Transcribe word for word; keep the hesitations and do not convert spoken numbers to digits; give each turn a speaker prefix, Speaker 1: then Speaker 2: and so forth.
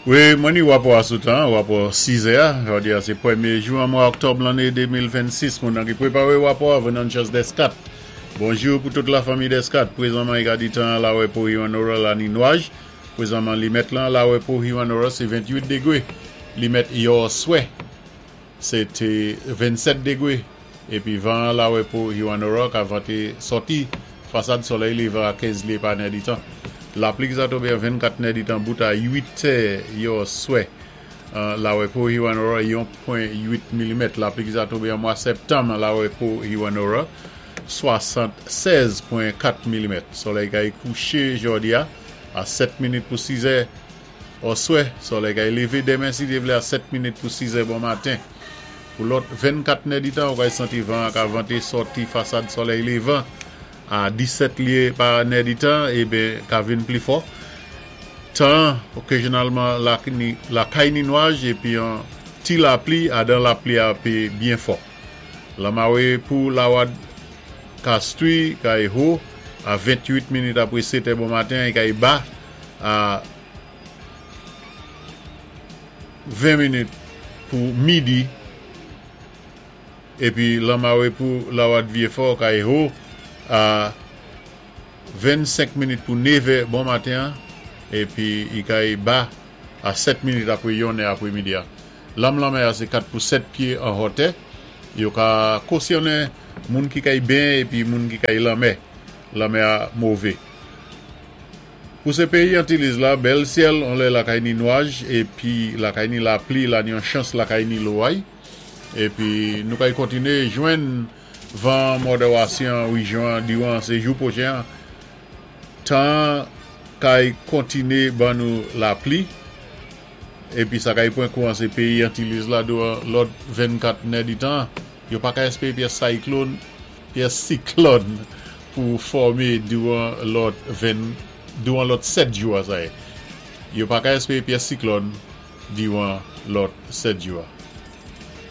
Speaker 1: Wi, mwen ni wapò a sou tan, wapò sizè, jòdi a sé pwémyé jou an mwa òktòb lanné de mil vennsis. Moun ki pwépawé wapò a, Venantius Descat. Bonjou pou tout lafanmi Descat. Pwézanman, i ka di tan lawè pou Hewanorra la ni nwaj. Pwézanman, limèt lan lawè pou Hewanorra, sé venntwit dégwé. Limèt yèswè, sé té vennsèt dégwé. Épi van lawè pou Hewanorra ka vanté sòti fasad solèy lévan a kenz lyé pa nèditan. Lapli ki sa tonbé an vennkat nèditan bout a uit è yèswè. Lawè pou Hewanorra, yon pwen uit milimèt. Lapli ki sa tonbé an mwa sèptanm lawè pou Hewanorra, swasannsèz pwen kat milimèt. Solèy kay kouché jòdi a a sèt minit pou siz è oswè. Solèy kay lévé denmen si Dye vlé a sèt minit pou siz è bon maten. Pou lòt vennkat nèditan, ou kay santi van ka vanté sòti fasad solèy lévan a disèt lyé pa nèditan ében ka vin pli fò. Tan, okazyonalman lakay ni nwaj épi an ti lapli adan lapli a pé byen fò. Lanmawé pou lawad Castries kay ho a venntwit minit apwé sèt bon maten é kay ba a ven minit pou midi, épi lanmawé pou lawad Vyéfò kay ho a vennsenk minit pou nevè bon maten épi i kay ba a sèt minit apwé yonnè apwé midi. Lam lanmè a sé kat pou sèt pyé an wotè. Yo ka kosyonnen moun ki kay benyen épi moun ki kay lanmè. Lanmè a mové. Pou sé péyi Antiliz la, bèl syèl, on lè lakay ni nwaj épi lakay ni lapli, la ni yon chans lakay ni loway. Épi nou kay kontiné jwenn van mòdéwasyon wéjyon diwan sé jou pwochen. Tan kay kontiné ban nou lapli épi sa kay pwan kouwan sé péyi Antiliz la diwan lòt vennkat nèditan. Yo pa ka èspéwé pyès siklòn, pyès siklòn pou fòmé diwan lòt ven diwan lòt sèt jou a sa yé. Yo pa ka èspéwé pyès siklòn diwan lòt sèt jou a.